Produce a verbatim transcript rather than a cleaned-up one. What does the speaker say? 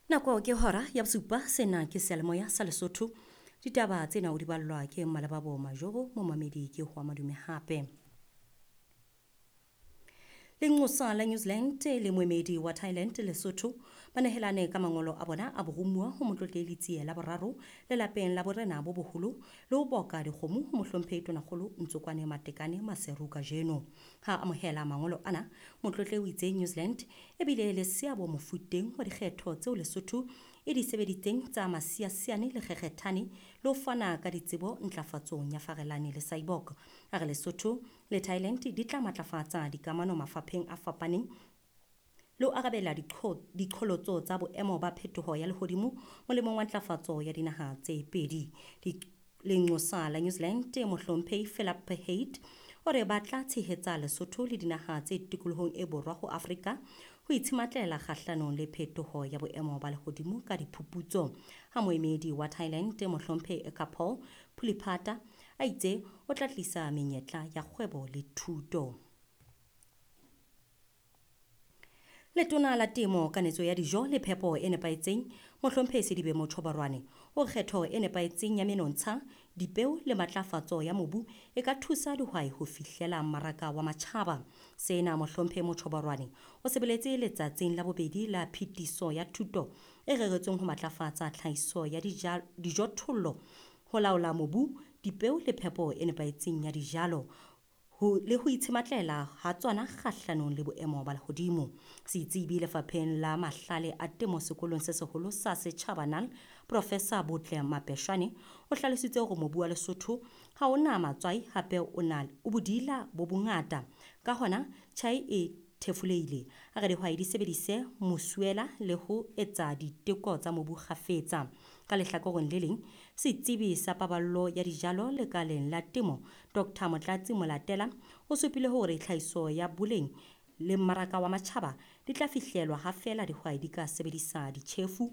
Nako ke hora ya bosupa, sena ke seyalemoya sa Lesotho. Ditaba tsena o di ballwa ke Mmalebabo Majoro, momamedi ke Hoa Madume hape. Lenqosa la New Zealand le moemedi wa Thailand Lesotho ba nehelane ka mangolo a bona a boromuwa ho Motlotlehi Letsie la boraro lelapeng la borena bo boholo le ho boka dikgomo ho Mohlomphehi Tonakgolo Ntsokwane Matekane Maseru kajeno. Ha amohela mangolo ana, Motlotlehi o itse New Zealand e bile le seabo mofuteng wa dikgetho tseo Lesotho e di sebeditseng tsa Masiasiane le Kgekgethane le ho fana ka ditsebo ntlafatsong ya Farelane le Cyborg. A re Lesotho le Thailand di tla matlafatsa dikamano mafapheng a fapaneng le ho arabela diqholotso tsa boemo ba phetoho ya lehodimo molemong wa ntlafatso ya dinaha tse pedi. Lenqosa la New Zealand Mohlomphehi Philip Haight o re ba tla tshehetsa Lesotho le dinaha tse tikolohong e borwa ho Afrika ho itshematlela kgahlanong le phetoho ya boemo ba lehodimo ka diphuputso. Ha moemedi wa Thailand Mohlomphehi Ekapol Pulipata a itse o tla tlisa menyetla ya kgwebo le thuto. Letona la Temo, Kanetso ya Dijo le Phepo e Nepahetseng, Mohlomphehi Sedibe Motjhobarwane, o kgetho e nepahetseng ya menontsha, dipeo le matlafatso ya mobu e ka thusa dihwai ho fihlela mmaraka wa matjhaba. Sena Mohlomphehi Motjhobarwane o sebeletse letsatsing la bobedi la phetiso ya thuto e reretsweng ho matlafatsa tlhahiso ya dijothollo, ho laola mobu, dipeo le phepo e nepahetseng ya dijalo ho le ho itshematlela ha tsona kgahlanong le boemo ba lehodimo. Setsebi lefapheng la mahlale a temo sekolong se seholo sa setjhaba N A L, Professor Botle Mapeshane, o hlalositse hore mobu wa Lesotho ha o na matswai hape o na o bodila bo bongata. Ka hona tjhai e thefulehile. A re dihwai di sebedise mosuela le ho etsa diteko tsa mobu kgafetsa. Ka lehlakoreng le leng, setsebi sa paballo ya dijalo lekaleng la temo, Doctor Motlatsi Molatela, o supile hore tlhahiso ya boleng le mmaraka wa matjhaba di tla fihlelwa ha feela dihwai di ka sebedisa ditjhefu,